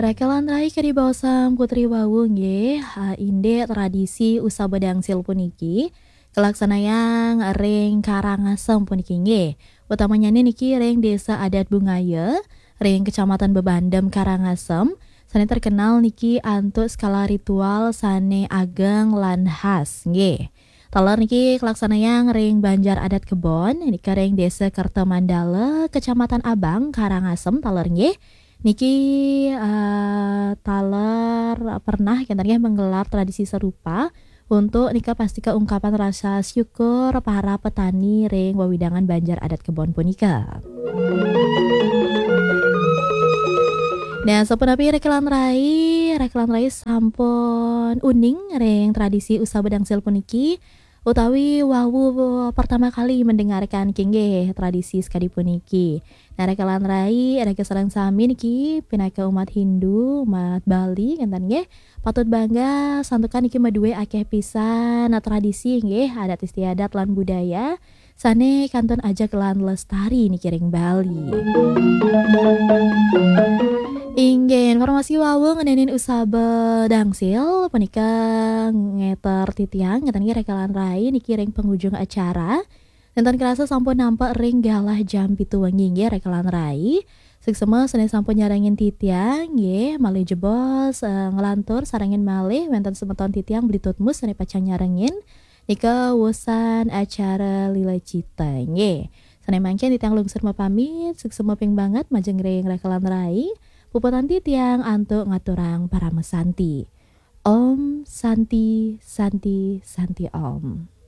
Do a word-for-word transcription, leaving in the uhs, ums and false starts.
Raka lan rai kadi baosang Putri wau nggih, eh, indik tradisi usaba dangsil puniki kalaksanayang ring Karangasem puniki nggih. Utamanyane niki ring Desa Adat Bungaya, ring Kecamatan Bebandem, Karangasem, sane terkenal niki antuk skala ritual sane ageng lan khas nggih. Taler niki kalaksanayang ring Banjar Adat Kebon, nika ring Desa Kerta Mandala, Kecamatan Abang, Karangasem, taler nggih. Niki, eh, taler pernah kenten nggih menggelar tradisi serupa untuk nika pastika ungkapan rasa syukur para petani ring wewidangan Banjar Adat Kebon punika. Nah, sapunapi Raka lan rai, Raka lan rai sampun uning ring tradisi usaba dangsil puniki, utawi wau pertama kali mendengarkan nggih tradisi sakadi puniki. Nah, Raka lan rai, Raka sareng sami niki pinaka umat Hindu, umat Bali, kenten nggih. Patut bangga santukan niki madue akeh pisan tradisi nggih, adat istiadat lan budaya sane kantun ajeg lan lestari niki ring Bali. Inggih, informasi wau ngenenin usaba dangsil punika ngeter titiang, ngeten nggih Raka lan rai niki ring pengujung acara. Nenten kerasa sampun nampek ring galah jam pitu wengi nggih Raka lan rai. Suksma sane sampun nyarengin titiang nggih, malih jebos, eh, nglantur sarengin malih wenten semeton titiang Bli Tutmus sane pacang nyarengin. Nika wusan acara Lila Cita nggih. Sane mangkin titiang lungsur mapamit, suksma ping banget majeng ring Raka lan rai. Puputang titiang antuk ngaturang parama santi. Om Santi, Santi, Santi Om.